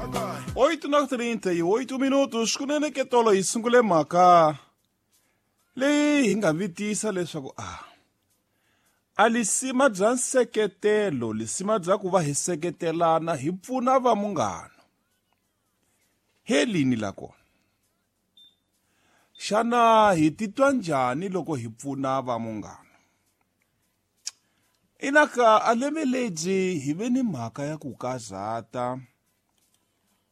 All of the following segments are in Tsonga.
8 na 38 minutos kunene ke tolo hi sungule mhaka leyi hi nga vitisa leswaku a a lisima bya nseketelo lisima bya ku va hi seketelana hi pfuna va munghana helini la kona xana hi titwa njhani loko hi pfuna va munghana Inaka a lembe lebyi hi ve ni mhaka ya ku karhata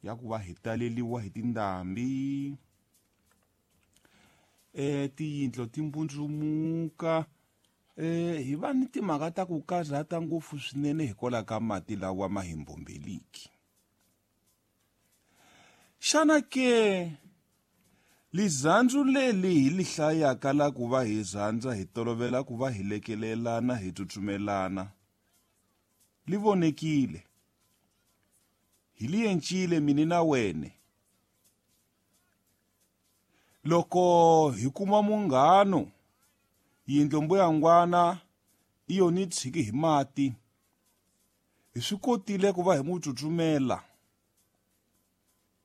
ya ku va hi taleliwa hi tindhambi eh tiyindlo ti mbundzumuka eh hi va ni timhaka ta ku karhata ngopfu swinene hikwalaho ka mati lawa ma hi mbombeliki Xana ke lizandzu leli hi li hlayaka la ku va hi rhandza hi tolovela ku va hi lekelelana hi tsutsumelana li vonekile hi li yencile mini na wene loko hi kuma munghano yindlo mbuyangwana i yoni tshiki hi mati hi swi kotile ku va hi n'wi tsutsumela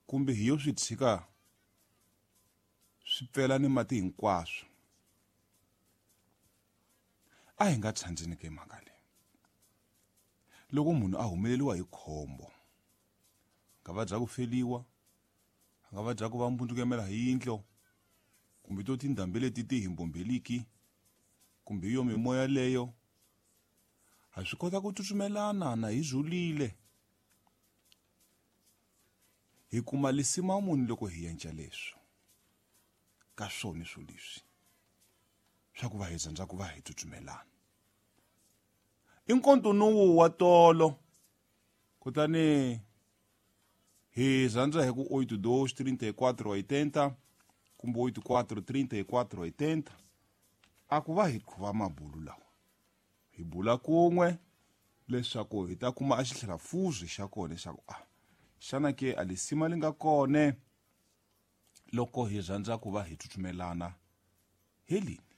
kumbe hi yo swi tshika swi pfela ni mati hinkwaswo a hi nga tshandzeni ke mhaka leyi loko munhu a humeleriwa hi khombo nga va bya ku feliwa a nga va bya ku va mbundzukemela hi yindlo kumbe to tindhambi leti ti hi mbombeliki kumbe yo mimoya leyo ha swi kota ku tsutsumelana na hi zulile hi kuma lisima muni loko hi yenca leswo ka swona swo leswi swa ku va hi rhandza ku va hi tsutsumelana i nkontunuwu wa tolo kutani hi rhandza hi ku 82 34 80 kumbe 84 34 80 a ku va hi khuva mabulu lawa hi bula kun'we leswaku hi ta kuma a xitlhelafuzi xa kona leswaku a xana ke a lisima li nga kone loko hi rhandza ku va hi tsutsumelana helini.